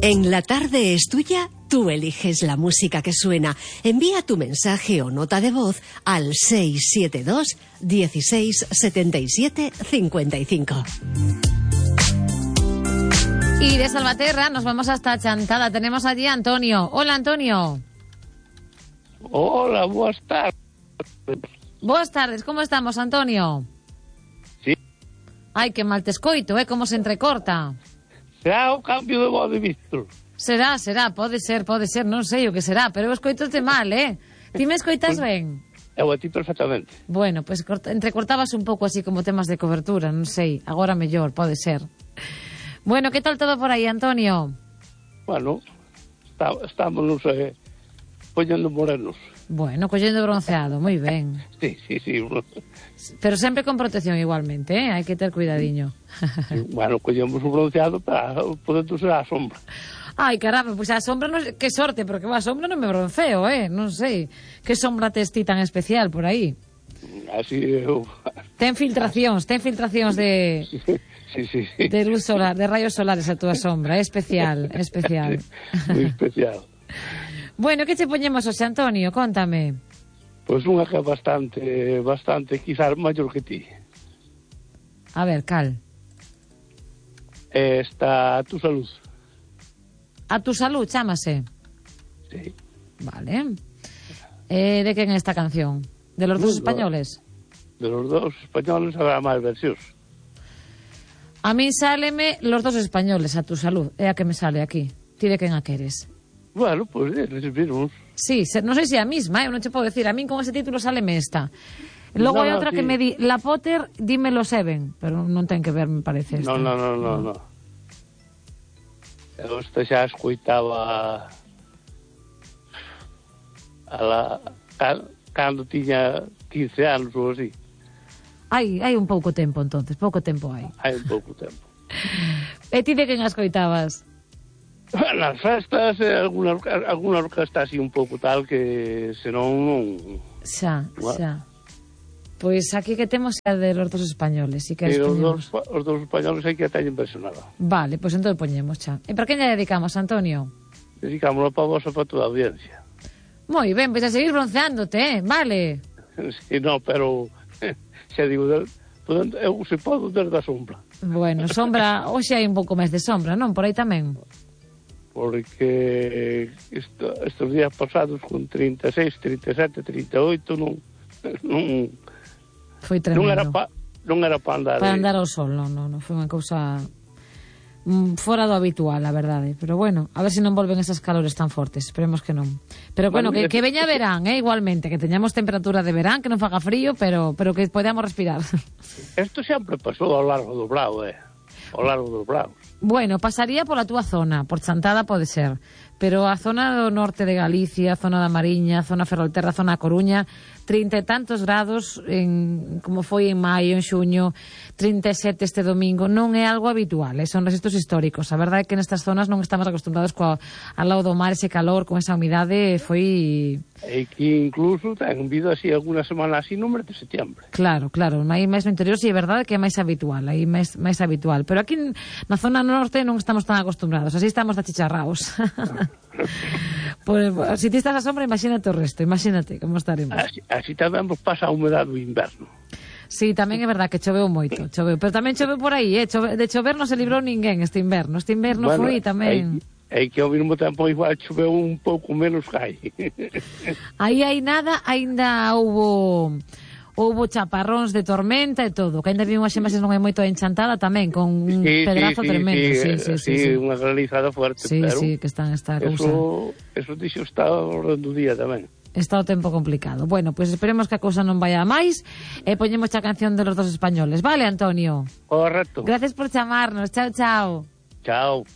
En La Tarde es Tuya, tú eliges la música que suena. Envía tu mensaje o nota de voz al 672 16 77 55. Y de Salvaterra nos vamos hasta Chantada. Tenemos allí a Antonio. Hola, Antonio. Hola, buenas tardes. Buenas tardes, ¿cómo estamos, Antonio? Sí. Ay, que mal te escoito, como se entrecorta. Será o cambio de voz de Víctor? Será, pode ser, non sei o que será, pero eu escoitote mal, Ti me escoitas ben? Eu a ti perfectamente. Bueno, pues entrecortabas un pouco así como temas de cobertura, non sei, agora mellor, pode ser. Bueno, que tal todo por aí, Antonio? Bueno, estamos poñendo morenos. Bueno, collendo bronceado, moi ben. Sí. Pero sempre con protección igualmente, hai que ter cuidadiño. Bueno, collemos o bronceado para poder ser a sombra. Ai, caramba, pois a sombra, non, que sorte, porque a sombra non me bronceo, non sei. Que sombra tes ti tan especial por aí? Así eu... Ten filtracións de... Sí. De luz solar, de rayos solares a túa sombra, é especial. Moi especial. Bueno, que che poñemos hoxe, Antonio? Cóntame. Pois unha que é bastante, quizás maior que ti. A ver, cal? Está A tu salud. A tu salud, chámase. Sí. Vale. De quen é esta canción? De los dos españoles? De los dos españoles habrá máis versións. A mí sáleme los dos españoles, A tu salud. É a que me sale aquí. Ti de quen a queres? Bueno, pois eles mismos. Sí, non sei se é a misma, eu non che podo decir. A min con ese título sáleme esta. Logo hai outra que me di, La Potter, dímelo Seven, pero non ten que ver, me parece esta. Non. Eu esta xa escoitaba cando tiña 15 anos ou así. Hai un pouco tempo, entonces, pouco tempo hai. Hai un pouco tempo. E ti de quen as coitabas? Nas festas, alguna orquesta así un pouco tal que senón non... Xa. Pois aquí que temos é de los dos españoles, si que os dos españoles hai que a teñen versionada. Vale, pois entón poñemos xa. E para quen lle dedicamos, Antonio? Dedicámoslo para vos e para toda a audiencia. Moi ben, pois a seguir bronceándote, vale? Sí, no, pero xa digo, eu se podo desde a sombra. Bueno, sombra, hoxe hai un pouco máis de sombra, non? Por aí tamén. Porque estes días pasados con 36, 37, 38 non foi tremendo. Non era para andar ao sol, non, foi unha cousa fora do habitual, a verdade. Pero bueno, a ver se non volven esas calores tan fortes, esperemos que non. Pero bueno, que veña verán, igualmente, que teñamos temperatura de verán, que non faga frío, pero que podamos respirar. Isto sempre pasou ao largo do Brao, ao largo dos Braos. Bueno, pasaría pola túa zona, por Chantada pode ser, pero a zona do norte de Galicia, a zona da Mariña, a zona Ferrolterra, a zona a Coruña, 30 e tantos grados, como foi en maio, en xuño, 37 este domingo, non é algo habitual, son registros históricos. A verdade é que nestas zonas non estamos acostumbrados ao lado do mar, ese calor, con esa humidade, foi... E que incluso ten vido así alguna semana así no mes de setembro. Claro, aí máis no interior, sí, é verdade que é máis habitual, aí máis habitual, pero aquí na zona norte non estamos tan acostumbrados, así estamos de achicharraos. Pues, si ti estás a sombra, imagínate o resto, imagínate como estaremos. Así tamén vos pasa a humedade do inverno. Sí, tamén é verdad que choveu moito, pero tamén choveu por aí, de chover non se librou ninguén este inverno bueno, foi tamén... É que ao mesmo tempo igual choveu un pouco menos que hai. Aí hai nada, ainda houbo chaparróns de tormenta e todo, que ainda vi unhas imaxes non hai moito Enchantada tamén, con un pedrazo tremendo. Sí, unha granizada fuerte. Sí, pero que están esta cousa. Eso dixo está ao orden do día tamén. Está o tempo complicado. Bueno, pois esperemos que a cousa non vaya a máis e poñemos a canción de los dos españoles. Vale, Antonio? Correcto. Gracias por chamarnos. Chao. Chao.